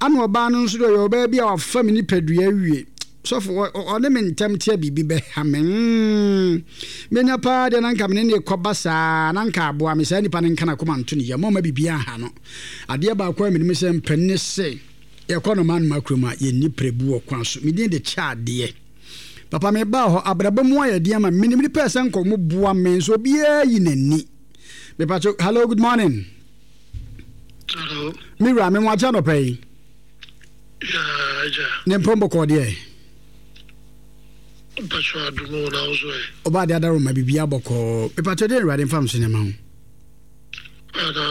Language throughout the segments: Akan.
Ana ɔbaa no nso deɛ ɔyɛ ɔbaa bi a wafa me nipadua awie. Sɔfo, ɔne me ntɛm tea biribi bɛha me. Mm, menya paa deɛ na nka me ne ne kɔba saa na nka aboa me saa nipa no nka n'akoma nto ne yam ɔma biribi aha no. Adeɛ baako a menim sɛ mpanin se yɛkɔ no manoma kurom a yɛnni prɛbu wɔ kwan so. Me din de kyɛ adeɛ. Papa mebaa hɔ abrabɔ mu ayɛ den ama me. Menim nipa ɛsɛ nka ɔmo boa me nso obiara yi n'ani. Mepatwo, hello, good morning. Hello. Me wura, me mo akyɛ anɔpa yi. Yeah, agya. Ne mpɔn bɔkɔɔ deɛ. Mpatwo adumu na wo so ɛ. Ɔba ade adaro ma biribi abɔkɔɔ. Mepatwo deɛ Awurade mfa mso nneɛma ho. Ana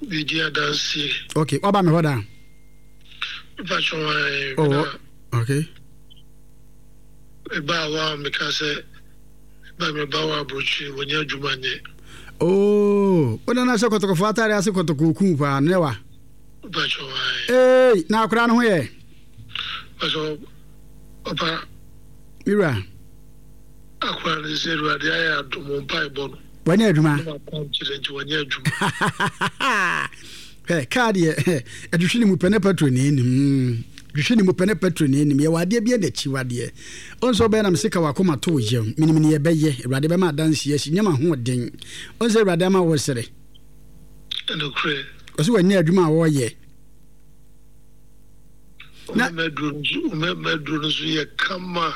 bidi adansie. Okay, waba me hɔ da. Mpatwo ɛ. Oh, okay. Mebaa hɔ a meka sɛ ba meba wɔ aburokyire wɔnyɛ adwuma nyɛ. Oh, wo nana hyɛ kɔtɔkɔfoɔ atare ase kɔtɔkɔɔ kuu paa no ne wa. Mpakyɛw ae. Eei, na akwadaa no ho yɛ? Mpakyɛw, papa. Me wura. Akwadaa no sɛ Awurade ayɛ adom wo mpaebɔ no. Wanya adwuma. Ne wakwankyerɛ nti wanya adwuma. Hwɛ, kaa deɛ ɛtwetwe ne mu pɛ ne petrol na ɛnim. Twetwe ne mu pɛ ne petrol na ɛnim. Yɛwɔ adeɛ bi na akyiwadeɛ. Ɔn sɛ ɔbɛyɛ na mese ka wakoma to wo yam. Menim ne yɛbɛyɛ. Awurade bɛma adanseɛ asi. Nyɛ m'ahoɔden. Ɔn sɛ Awurade ama wo sere. Nokorɛ. Ɔsɛ wanya adwuma a ɔreyɛ. Na mɛduro no so yɛ kama.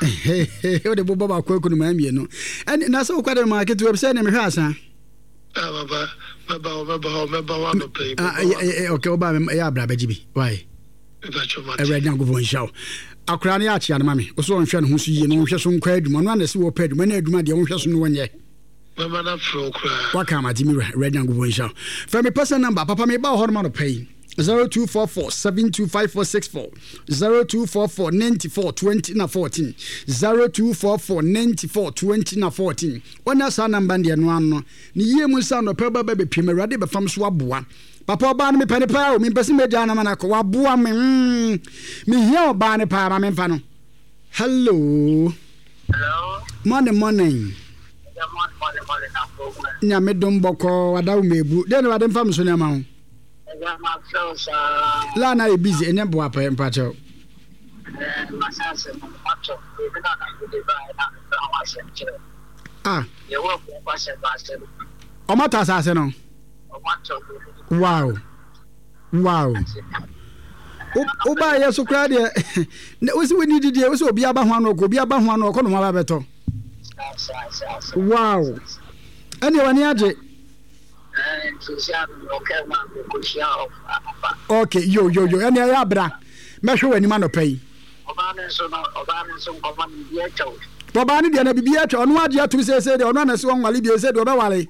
Wode bobɔ baako aku no maa mmienu. Ɛne na sɛ wokɔ de ma ketewa bi sɛ ne mehwɛ asa. Ah baba, mɛba hɔ mɛba hɔ mɛba hɔ anɔpa yi. Ah, okay, woba ɛyɛ abra bɛgye bi. Why? Awurade Nyankopɔn nhyira wo. Akora no yɛ akyea no ma me. Wo so ɔnhwɛ ne ho so yie na ɔnhwɛ so nkɔ adwuma. Ɔno ana sɛ wɔpɛ adwuma na adwuma deɛ ɔnhwɛ so no wɔnyɛ. Mɛma no afrɛ wo koraa. Waka ama gye me wura. Awurade Nyankopɔn nhyira wo. Frɛ me personal number. Papa meba wɔ hɔ nom anɔpa yi. 0244 725464 0244 94 20 na 14 0244 94 20 na 14 Wɔnya saa number no deɛ no ano ne yie mu nsa anɔpa ba ba bɛpiem Awurade bɛfam so aboa Papa ɔbaa no mepɛ no paa o mempɛ sɛ mɛgyaa no ama no akɔ waboa me mm mehia ɔbaa no paa ma memfa no Hello. Hello. Morning morning. Nyame dom bɔkɔɔ wada wo mebu. Dɛn na wade mfa me so nneɛma ho? La na yɛ busy ɛnyɛ boa pɛ mpakyɛw. Ah. Ɔmo atɔ asase no. Wow. Wow. Wobaa yɛ so koraa deɛ wosi wonni didie wosi obi aba ho ano ɔkɔ obi aba ho ano ɔkɔ na ɔmo aba bɛtɔ. Wow. Ɛnneɛ w'ani agye. Okay, yo yo yo ɛnneɛ ɛyɛ abira mɛhwɛ w'anim anɔpa yi. Ɔbaa no deɛ na biribi atwa ɔno agye atum seesei deɛ ɔno anase ɔnwale bio sɛ deɛ ɔbɛwale.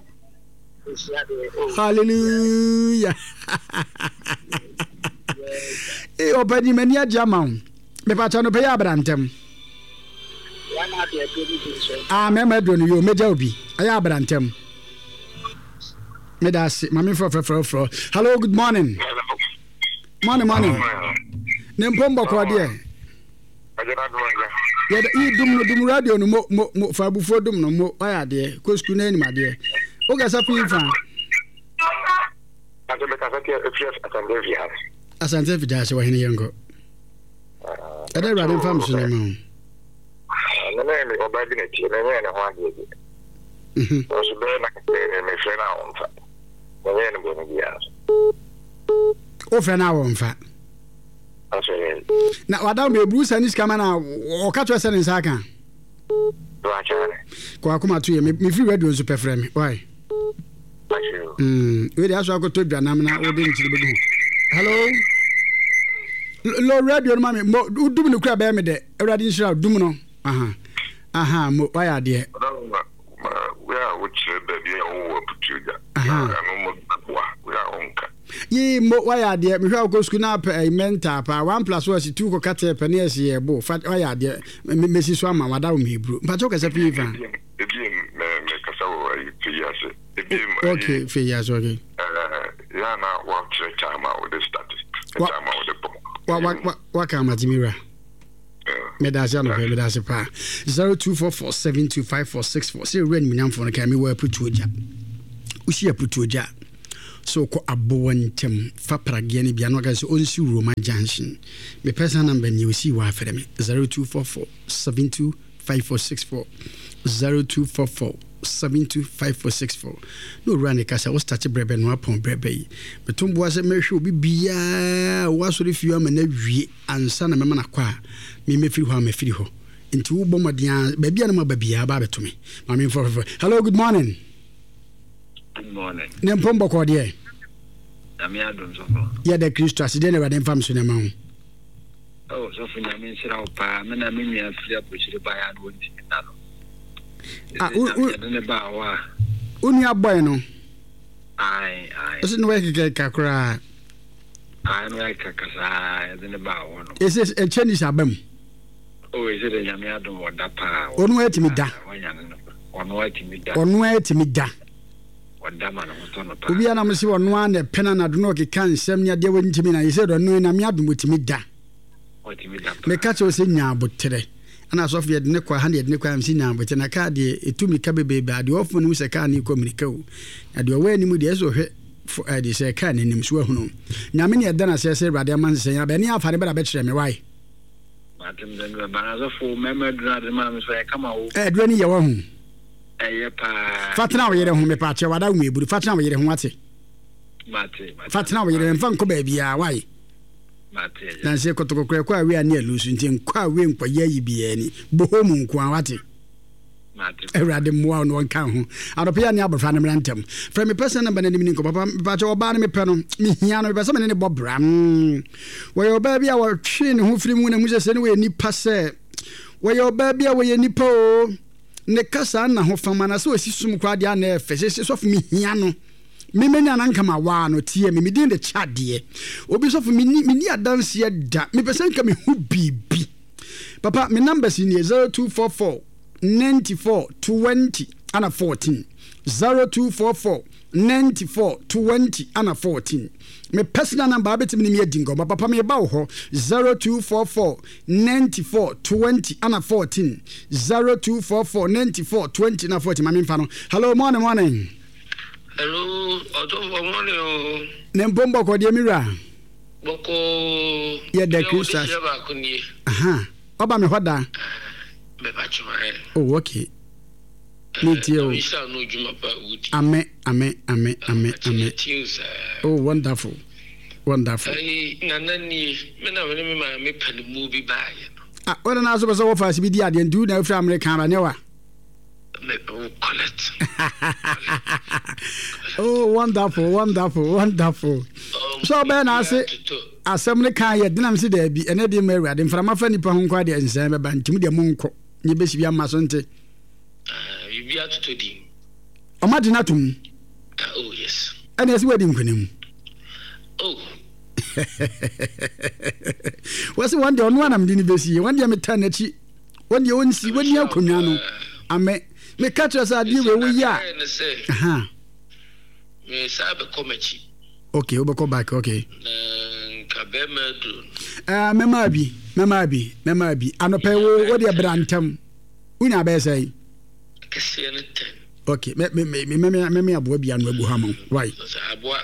Hallelujah. Ee ɔpɛ ni m'ani agye ama wo. Mepakyɛ no pɛ yɛ abira ntɛm. Ah, mɛma aduro no yo, mɛgya obi. Ɛyɛ abra ntɛm. Meda ase, ma memfrɛ frɛfrɛ frɛ. Hello, good morning. Morning, morning. Ne mpom bɔkɔɔ deɛ. Yɛda yi dum no dum radio no mo mo mo fa abufuo dum no mo wayɛ adeɛ kɔ sukuu na anim adeɛ. Wokasa fi fa. Asante Afigya ase wɔ hene yɛnkɔ. Ɛdɛ Awurade mfa me so ne ma wo. Me ne me ɔbaa bi na tie, menyɛɛ ne ho adeɛ bi. Nanso bɛyɛ na mefrɛ no a ɔmfa. Menyɛɛ no bɔne biara nso. Wofrɛ no a wɔmfa. Na wada no eburu sa ne sika ma na ɔka kyerɛ sɛ ne nsa aka. Kɔ akoma to yɛ mefiri radio nso pɛ frɛ me. Why? Mm, wei de aso akɔtɔ dwanam na wode nkyiri bɛgu ho. Hello? Lo radio no ma me mo wodum no kura bɛyɛ me dɛ. Awurade nhyira wo dum no. Aha. Aha, mo wayɛ adeɛ. Wei a wokyerɛ baabi a wowɔ aputuo gya. Na ɛno mo boa wei a wonka. Yii mo wayɛ adeɛ mehwɛ a wokɔ sukuu na apɛ ɛyi mental paa one plus one si two kɔka tɛ pɛ ne ɛsi yɛ bo fa wayɛ adeɛ mesi so ama wada wo meheburu mpakyɛ wokasa pii fa. Ebiem mekasa wɔ ayi fɛ yi ase. Ebiem ayi. Okay fɛ yi ase okay. Ɛɛ yɛ na wakyerɛ time a wode start time a wode pɔn. Wa wa wa waka ama ti mi wura. Meda ase anɔpɛ meda ase paa 0244725464 sɛ ewura animuonyamfoɔ no kan mewɔ aputuo gya wosi aputuo gya. Sɛ wokɔ Abowa ntam fa prageɛ no bi a na waka sɛ ɔnsi Roma junction. Me personal number nie osii hɔ a frɛ me 0244 72 5464 0244 72 5464 na owura ne kasa wo start brɛ bɛ no apɔn brɛ bɛ yi meto mboa sɛ mɛhwɛ obi biara wɔ asɔre fie ama no awie ansa na mɛma no akɔ a me mɛfiri hɔ a mafiri hɔ nti wobɔ mmɔden a baabi a na maba biara ba abɛto me maame mfrɛ fɛfɛ. Hello, good morning. Good morning. Ne mpom bɔkɔɔ deɛ. Nyame adom sɔfo. Yɛda Kristo ase deɛ na Awurade mfa me so na ɛma wo. Oh sɔfo Nyame nhyira wo paa me na me nua firi aburokyire baeɛ a na wɔntumi nna no. Ah, wo wo yɛde ne baa hɔ a. Wo nua bɔe no. Ae ae. Ɔsɛ na wɔyɛ kɛkɛ koraa. Ae na wɔyɛ kɛkɛ saa yɛde ne baa hɔ no. Ɛsɛ ɛkyɛ ni sɛ aba mu. Oh ɛsɛ dɛ Nyame adom ɔda paa. Ɔno atumi da. Ɔno atumi da. Ɔno atumi da. Ɔda ma ne ho tɔ no paa. Obi anam se ɔno ara na ɛpɛ no anadwo na ɔkeka nsɛm ne adeɛ wɔntumi na yɛsɛ dɛ ɔno Nyame adom ɔtumi da. Ɔtumi da paa. Meka kyerɛ wo sɛ nya aboterɛ. Ɛna asɔfo yɛde ne kɔ ha na yɛde ne kɔ ha mese nya aboterɛ na kaa deɛ ɛtu mmirika bebrebe a deɛ ɔfo no hu sɛ kaa no rekɔ mmirika o. Na deɛ ɔwɔ anim deɛ ɛsɛ ɔhwɛ fo ɛde sɛ kaa no anim so ahunu. Nyame ne ɛda no aseɛ sɛ Awurade ama nsesɛn aba ɛne afa ne bɛda bɛkyerɛ me wae. Mate me sɛ mebɛba na sɔfo mɛma aduru ade maa me so ɛyɛ kama o. Aduro no yɛ wahu. Ɛyɛ paa. Fa tena wo yere ho mepa kyɛw ada wo eburu fa tena wo yere ho wate. Mate mate. Fa tena wo yere mfa nkɔ baabiara wae. Mate agya. Nanse kɔtɔkɔkorɛ kɔ awe ane alusu nti nkɔ awe nkɔyɛ ayi biara ni bohɔ mu nko ara wate. Awurade mmoa wo na ɔnka ho. Anɔpa yi a ne abɔfra no mmra ntɛm. Frɛ me personal number no anim ni nkɔ. Papa, mepakyɛ ɔbaa no mepɛ no. Mehia no, mepɛ sɛ me ne no bɔ bra. Mm. Wɔyɛ ɔbaa bi a wɔtwee ne ho firi mu na mu sɛ sɛ ne wɔyɛ nipa sɛ. Wɔyɛ ɔbaa bi a wɔyɛ nipa o. Ne kasa na ho fama na sɛ ɔsi som koraa deɛ ana ɛfɛ. Sɛ sɛ sɔfo mehia no. Me menya na nka ma waa no tie me. Me din de kya deɛ. Obi sɔfo menni menni adanseɛ da. Mepɛ sɛ nka mehu biribi. Papa me numbers nie 0244 94 20 ana 14 0244 94 20 ana 14 me personal number abɛtumi ne me adi nkɔmmɔ papa meba wo hɔ 0244 94 20 ana 14 0244 94 20 na 14 ma memfa no. Hello, morning, morning. Hello, ɔtɔfoɔ morning o. Ne mpom bɔkɔ deɛ me wura. Bɔkɔɔ. Yɛ da Kristo ase. Deɛ baako nie. Aha. Ɔba me hɔ da. Bɛba kyema ɛ. Oh, okay. Me tie o. Nhyira no dwuma pa wudi. Amen, amen, amen, amen, amen. Oh, wonderful. Wonderful. Ayi, nana nie. Me na me ne me maame panimu bi baayɛ no. Ah, wɔn na so bɛ sɛ wɔfa ase bi di adeɛ nti wo na afiri Amerika aba ne wa. Collect. Oh, wonderful, wonderful, wonderful. So ɔbɛn na ase asɛm no kan yɛ denam si daabi ɛnɛ deɛ ma awurade mframa fa nipa ho nkɔ adeɛ nsɛn bɛba nti mu deɛ monkɔ nyɛ bɛsi bi ama so nte. Biribi atotɔ din. Ɔma de no atom. Oh yes. Ɛna ɛsɛ wadi nkonim. Oh. Wɔsi wɔn deɛ ɔno anam de ne bɛsi wɔn deɛ metaa n'akyi. Wɔn deɛ ɔnsi wɔnni akonnwa no. Amɛ meka kyerɛ sɛ adeɛ wei woyɛ a. Mesan bɛkɔ m'akyi. Okay, wobɛkɔ back, okay. Na nka bɛrima aduro no. Ɛɛ mɛma bi, mɛma bi, mɛma bi. Anɔpɛ wo wo deɛ bra ntɛm. Wonya bɛyɛ sɛn? Kɛseɛ no tɛn. Okay, mɛ mɛ mɛ mɛ mɛ mɛ aboa bi ano agu ha ma wo. Why? Aboa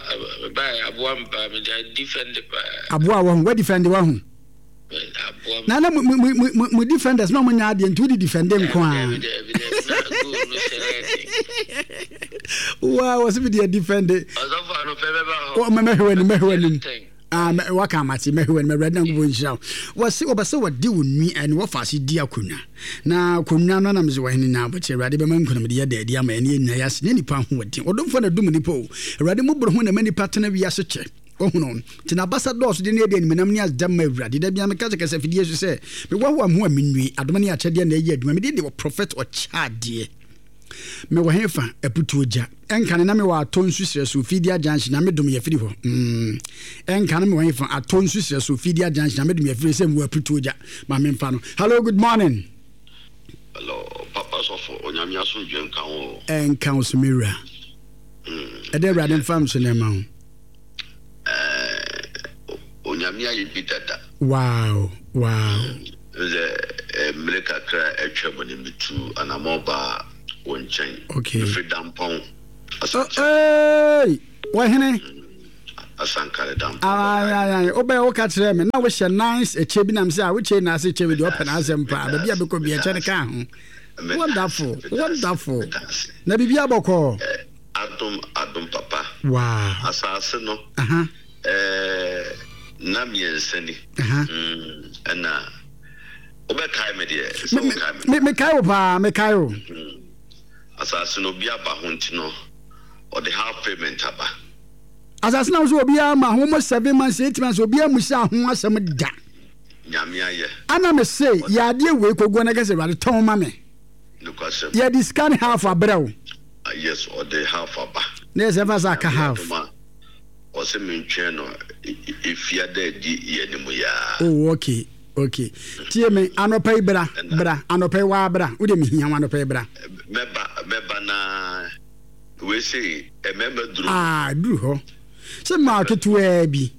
baa aboa mpa mɛ defend paa. Aboa wɔ ho, wa defend wɔ ho. Na na mo mo mo mo defenders na wɔn nyɛ adeɛ nti wodi defende nko ara. Waa wɔsi mi deɛ defende. Ɔ mɛ mɛhwɛ w'anim mɛhwɛ w'anim. Ah mɛ waka amate mɛhwɛ w'anim awurade na nkubɔ nhyira wo. Wɔsi wɔbɛ sɛ wɔde wɔn nwi ɛne wɔfa ase di akonnwa. Na akonnwa no anam sɛ wɔhene na abɔkyɛ awurade bɛma nkunimdi yɛ dɛ adi ama ɛne yɛn nyinaa yɛ ase ne nipa ahoɔden. Ɔdomfoɔ na dum nipa o. Awurade mmɔborɔhunu na ɛma nipa tena wiase kyɛ. Wahu no? Nti n'abasa dɔɔso de na ɛde animuonyam ne aseda ma Awurade. Da biara meka sɛ kasafidie so sɛ, mehoahoa me ho a mennue. Adom ne akyɛdeɛ na ɛyɛ adwuma. Me din de Ɔprɔfɛt Ɔkyɛadeɛ. Mewɔ hefa? Aputuo gya. Ɛnkane na mewɔ Atɔ nsu serɛ so, Fidia Junction, Nyame dom yɛfiri hɔ. Mm. Ɛnkane mewɔ hefa? Atɔ nsu serɛ so, Fidia Junction, Nyame dom yɛfiri hɔ, sɛ mewɔ Aputuo gya. Ma memfa no. Hello, good morning. Hello, Papa Sɔfo, Onyame asomdwoe nka wo o. Ɛnka wo so me wura. Ɛdɛ Awurade mfa nso na ɛma wo. Onyame ayɛ bi dada. Wow wow. Sɛ mmere kakra a atwa mu no metu anamɔ baa wo nkyɛn. Okay. Mefiri Dampɔn. Hey, wɔhene. Asankare dam. Ayi wobɛ woka kyerɛ me na wohyɛ nice ɛkyɛ bi nam sɛ a wokyɛ na ase kyɛ bi deɛ ɔpɛ n'asɛm paa baabi a bɛkɔ bi ɛkyɛ no ka ho. Wonderful, wonderful. Na biribi abɔkɔɔ. Adom adom papa. Wow. Asase no. Aha. Ɛɛ nna mmiɛnsa ni. Aha. Ɛna wobɛkae me deɛ sɛ wokae me. Me mekae wo paa mekae wo. Asase no obi aba ho nti no ɔde half payment aba. Asase na wo so obiara ma ho almost 7 months, 8 months, obiara musa ho asɛm da. Nyame ayɛ. Ana me se yɛ adeɛ wei koguo na kɛsɛ Awurade tɔn ma me. Nokwasɛm. Yɛde sika ne half abrɛ wo. Yes, ɔde half aba. Na yɛ sɛ fa sɛ aka half. Ɔsɛ mentwɛn no efia dɛ di yɛ ne mu yaa. Oh, okay. Tie me anɔpa yi, bra, bra anɔpa yi, waa bra. Wode mehia wo anɔpa yi, bra. Mɛba, mɛba na wei sei mmarima duru. Ah, duru hɔ. Sɛ mmaa ketewaa bi.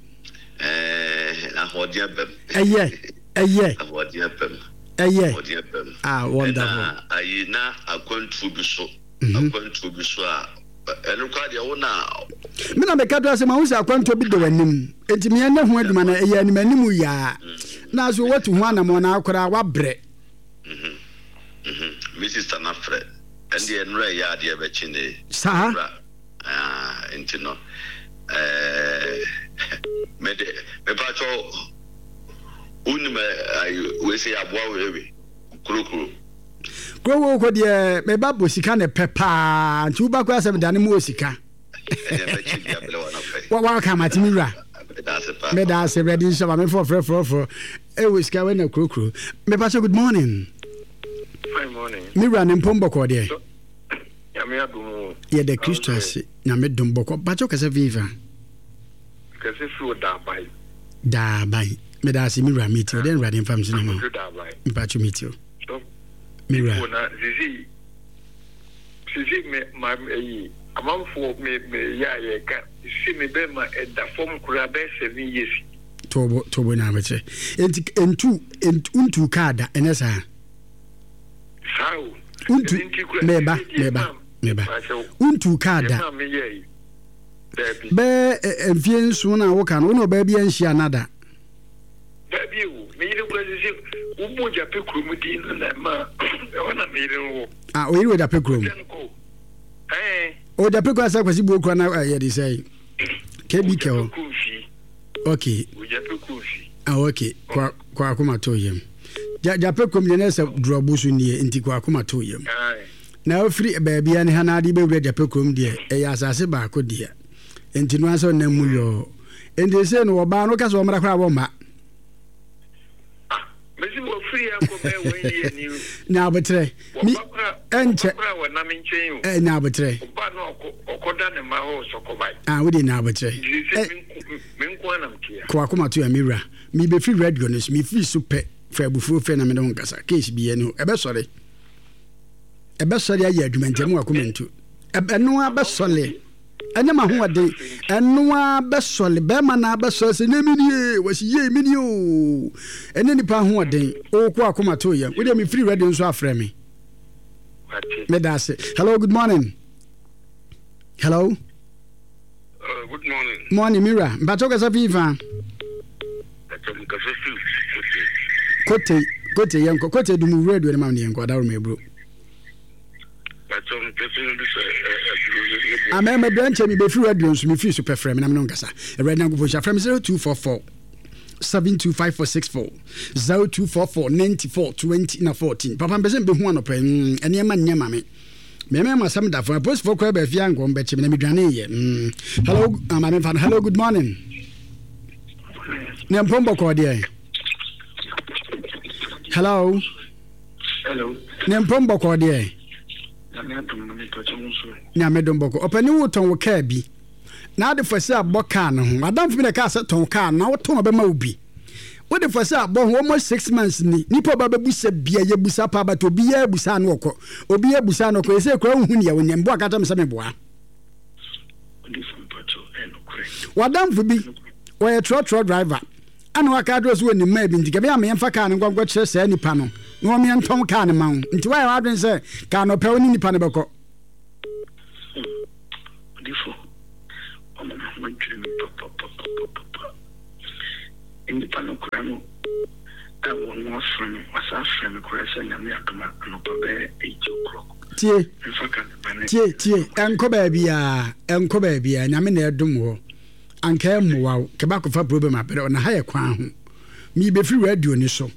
Ɛɛ, ahoɔden abam. Ɛyɛ, ɛyɛ. Ahoɔden abam. Ɛyɛ. Ahoɔden abam. Ah, wonderful. Ɛna ayi na akwantuo bi so. Akwantuo bi so a ɛno koraa deɛ wo na. Me na meka to asɛm ahu sɛ akwantuo bi da w'anim. Enti meɛ ne ho adwuma no ɛyɛ anim anim yaa. Na so watu ho anamɔ na koraa wabrɛ. Me sister na frɛ. Ɛndeɛ nnora ɛyɛ adeɛ bɛkye ne. Saa. Ah, nti no ɛɛ mede mepatwɔ wonim wei sɛ yɛaboa wo ewe kurokuro. Kurokuro kɔ deɛ meba bɔ sika ne pɛ paa nti woba koraa sɛ medane mu wɔ sika. Waka mate me wura. Meda ase awurade nhyɛ ma mefɔ frɛ frɛ frɛ ɛwɔ sika wɛ na kurokuro. Mepatwɔ, good morning. Fine morning. Me wura ne mpom bɔkɔɔ deɛ. Nyame adom o. Yɛda Kristo ase. Nyame dom bɔkɔ. Pakyɛw kasa fi fa. Kasa fi o Daaban. Daaban. Meda ase me wura meti o. Dɛn Awurade mfa me so na ma. Mpakyɛw meti o. Me wura. Na zizi zizi me ma eyi amanfoɔ me me yɛ a yɛka sisi me bɛma ɛda fam koraa bɛyɛ 7 years. Tobo tobo na abɛkyerɛ. Enti entu ntu kaa da ɛnyɛ saa. Saa o. Wontu meba meba meba wontu kaa da bɛɛ mfie 7 na woka no wo ne ɔbaa bi anhyia na da. Dabi o, me yere kura sisi wobɔ Gyape kurom din no na ɛma ɛhɔ na me yere no wɔ. Ah, oyere wɔ Gyape kurom. Ɛɛ. O Gyape kurom asɛ kwasi buo kura na ɛyɛ de sɛ KBK hɔ. Okay. Gyape kurom fi. Ah, okay. Kwa kwa akoma to yam. Gyape kurom deɛ na ɛsɛ durɔbo so nie nti kɔ akoma to yam. Na ofiri baabi a ne ha na ade bɛwura Gyape kurom deɛ ɛyɛ asase baako deɛ nti no asɛ ɔnam mu yɔɔ nti sɛ no wɔbaa no ka sɛ wɔmmra koraa wɔmma. Mesi wɔfiri akɔ bɛɛ wɔn yie ni. Nya abotrɛ. Mi ɛnkyɛ. Wɔba wɔnam nkyɛn o. Ɛ nya abotrɛ. Ɔba no ɔkɔ ɔkɔda ne mma hɔ sɔkɔbae. Ah wo de nya abotrɛ. Nti sɛ me nko anam tia. Kɔ akoma to ya me wura. Mi bɛfiri radio no so mi firi so pɛ fa abufuo fɛ na me ne wo nkasa case bi ɛni hɔ ɛbɛsɔre ɛbɛsɔre ayɛ adwuma nti ɛmu akoma ntu ɛno abɛsɔre. Ɛnyɛ m'ahoɔden. Ɛno ara bɛsɔre. Bɛrima no ara bɛsɔre sɛ, Nyɛ me nie. Wɔsi, Yei, me nie oo. Ɛnyɛ nipa ahoɔden. Woko akoma to yam. Wodeɛ mefiri radio nso afrɛ me. Meda ase. Hello, good morning. Hello. Good morning. Morning, Mira. Mpakyɛw kasa fi fa. Kote. Kote, kote yɛnkɔ. Kote dumu radio no ma me yɛnkɔ. Adaworo ma eburo. Amen mɛbrɛ nkyɛ mebɛfiri radio nso mefiri so pɛ frɛ me na me no nkasa. Awurade Nyankopɔn hyɛ frɛ me 0244 725464 0244 94 20 na 14. Papa mpɛ sɛ mbɛhu anɔpa yi nneɛma nyɛ ma me mɛmɛ ma asɛm da fo apolisifoɔ koraa baafi a nkɔm bɛkye me na medwane yɛ. Hello, maame mfa no. Hello, good morning. Ne mpɔn bɔkɔɔ deɛ. Hello. Hello. Ne mpɔn bɔkɔɔ deɛ. Nyame adom no mepɛkyɛ wo nso. Nyame dom bɔkɔ. Ɔpɛni wo tɔn wo kaa bi. Na ade fɔ sɛ abɔ kaa no ho. Adamfo bi na kaa sɛ tɔn kaa na wotɔn ɔbɛma wo bi. Wode fɔ sɛ abɔ ho almost 6 months ni. Nipa ɔba bɛbusa bia yɛ busa paa but obiara busa no ɔkɔ. Obiara busa no ɔkɔ. Ɛsɛ kura wohu nea wonyɛ. Mboa ka kyerɛ me sɛ meboa. Wadamfo bi ɔyɛ trɔtrɔ driver. Ɛna waka akyerɛ sɛ ɔnim maa bi nti kɛbɛyɛ a meyɛmfa kaa no nkɔ nkɔkyerɛ saa nipa no na wɔn yɛntɔn kaa no ma wo nti woayɛ w'adwene sɛ kaa no ɔpɛ wo ne nipa no bɛkɔ. Odifo, wama me ho adwiri me papapapapapa. Nnipa no koraa no a wɔn afrɛ me, wɔasan afrɛ me koraa sɛ Nyame adom a anɔpa bɛyɛ 8 o'clock. Tie, Mfa ka ne ba ne. tie, tie, ɛnkɔ baabiara, ɛnkɔ baabiara, Nyame na ɛdom wɔ. Anka ɛmmoa wo, kɛbɛ akɔfa problem abrɛ wo, na ha yɛ kwan ho. Mebɛfiri radio no so.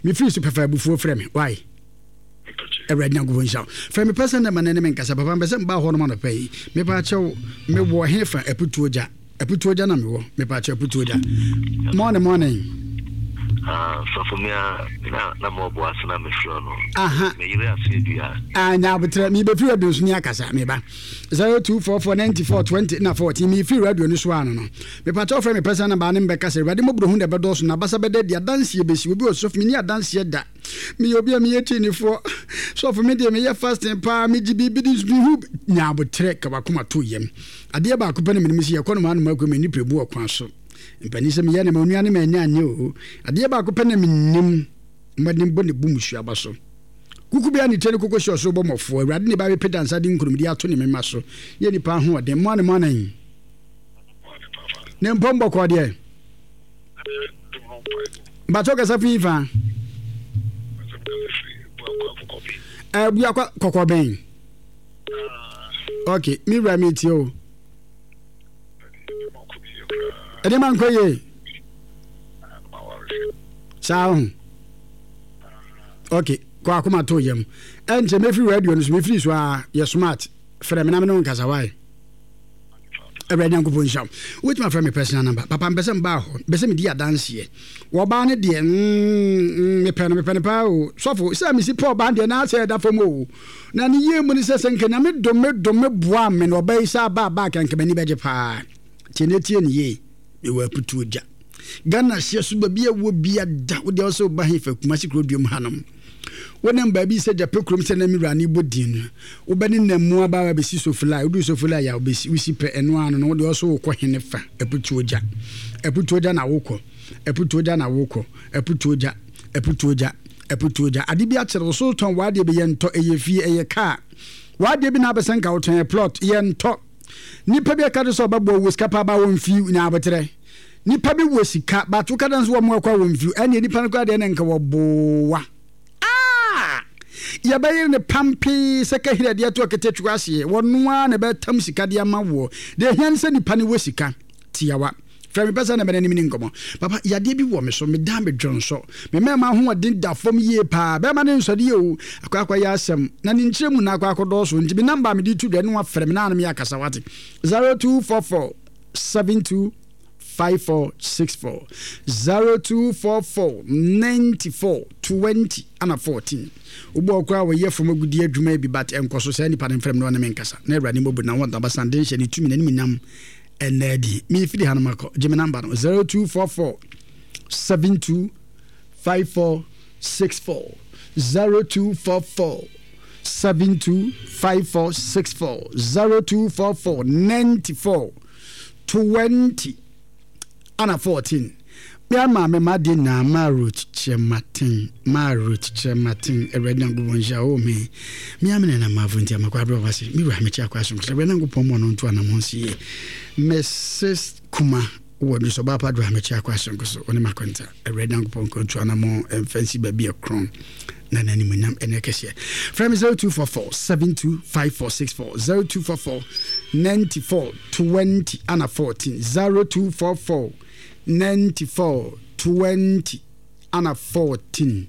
Mefiri so pɛ fa abufuo frɛ me, why? Awurade Nyankopɔn nhyira wo. Frɛ me pɛ sɛ ndɛ ma ne ne me nkasa papa mpɛ sɛ mba hɔ nom anɔpa yi. Mepa kyɛw me wɔ he fa aputuo gya. Aputuo gya na me wɔ. Mepa kyɛw aputuo gya. Morning morning. Ah, sɔfo me a na na mo ɔbo ase na me frɛ no. Aha. Me yere ase adua. Ah, nya abotrɛ. Me bɛfiri radio so ni akasa me ba. 0244 94 20 na 14 me firi radio no so ano no. Mepa kyɛw frɛ me personal number ne mbɛkasa. Awurade mmɔborɔhu na ɛbɛdɔɔso na abasa bɛda adi adanseɛ bɛsi. Obi wɔ sɔfo me ni adanseɛ da. Meyɛ obi a meyɛ kyinifoɔ. Sɔfo me deɛ meyɛ fasting paa, megye biribi di nso mehu nya aboterɛ ka wakoma to yam. Adeɛ baako pɛ na menim sɛ yɛkɔ nomaa nomaa kurom ani pere bu wɔ kwan so. Mpanin sɛ meyɛ na ma onua ne ma anya anyɛ o. Adeɛ baako pɛ na menim mmɔden bɔ ne bu musuaba so. Kuku bia ne tire ne koko hyɛ ɔsoro bɔ mmɔfoɔ. Awurade ne ba bɛpɛ dansa de nkonimdie ato ne mema so. Yɛ nipa ahoɔden. Mmoa ne mmoa nan. Ne mpɔm bɔkɔɔ deɛ. Mpakyɛw kasa fi fa. Abuakwa kɔkɔbɛn. Ok, mi wura mi tie o. Ɛde ma nkɔ yie. Saa ho. Ok, kɔ akoma to yam. Ɛnkyɛ mefiri radio no so mefiri so a yɛ smart. Frɛ me na me ne wo nkasa wae. Awurade Nyankopɔn nhyira wo. Wobɛtumi afrɛ me personal number. Papa mpɛ sɛ mbaa hɔ. Mpɛ sɛ medi adanseɛ. Wɔbaa no deɛ mm, mepɛ no mepɛ no paa o. Sɔfo, sɛ mesi pɛ ɔbaa deɛ na asɛ ɛda fam o. Na ne yie mu ne sɛ sɛ nka Nyame dom me dom me boa me na ɔbaa yi sɛ aba aba a nka m'ani bɛgye paa. Tie ne tie ne yie. Mewɔ aputuo gya. Ghana hyeɛ so baabi a wɔ bia da. Wo deɛ wo sɛ woba hefa Kumasi kuro duom hanom. Wonam baabi sɛ gyapɛ kurom sɛ na me wura ne bɔ din no. Wobɛnenam mu aba abɛsi Sofilai. Woduru Sofilai a, wobɛsi, wosi pɛ, ɛno ara no no, wo deɛ ɔso wokɔ hene fa? Aputuo gya. Aputuo gya na wokɔ. Aputuo gya na wokɔ. Aputuo gya. Aputuo gya. Aputuo gya. Ade bi akyere wo so wotɔn w'adeɛ bi, yɛntɔ. Ɛyɛ fie, ɛyɛ kaa. W'adeɛ bi na abɛsɛ nka wotɔn, ɛyɛ plot, yɛntɔ. Nipa bi ɛka de sɛ ɔbɛboa wo sika paa ba wɔmfi nya aboterɛ. Nipa bi wɔ sika, but woka dɛ nso wɔn ɛkɔ a wɔmfi, ɛnneɛ nipa no koraa deɛ ne nka wɔboa. Ah! Yɛbɛyere no pampee sɛ kahiri a ɛde ato aketekyekwa aseɛ. Wɔno ara na ɛbɛtam sika de ama woɔ. Deɛ ɛhia ne sɛ nipa no wɔ sika. Tiawa. Frɛ me pɛ sɛ na mene ne nkɔmmɔ. Papa, yadeɛ bi wɔ me so. Meda medwonsɔ. Me mmarima ahoɔden da fam yie paa. Bɛrima no nsɔre o. Akɔ akɔyɛ asɛm. Na ne nkyerɛ mu na akɔ akɔdɔɔso. Nti me namba a mede to dwa ne wafrɛ me na ano meyɛ akasa wate. 0244 72 5464 0244 94 20 ana 14 wobɔ ɔkora a wɔyɛ fam agudi adwuma bi but ɛnkɔ so saa nipa no mfrɛ me na ɔne me nkasa na awurade mmɔbu na wɔn abasa den hyɛ ne tumi n'anim nyam ɛnna adi mefiri ha no makɔ gye me namba no 0244 72 5464 0244 72 5464 0244 94 20 ana 14 Me ama me ma de nyinaa ma Ruth Kyerematen ma Ruth Kyerematen Awurade Nyankopɔn nhyira wo me me amene na mafo nti amakɔ abrɛ wase me wura mekyɛ akɔ asom sɛ Awurade Nyankopɔn mɔ no nto anamɔn so yie Mrs Kuma wɔ no so ɔbaa pa do a mekyɛ akɔ asonko so ɔne makonta Awurade Nyankopɔn nka ntu anamɔn ɛmfa nsi baabi ɛkorɔn na n'animuonyam ɛnyɛ kɛseɛ. Frɛ me 0244 72 5464 0244 94 20 ana 14 0244 94 20 ana 14.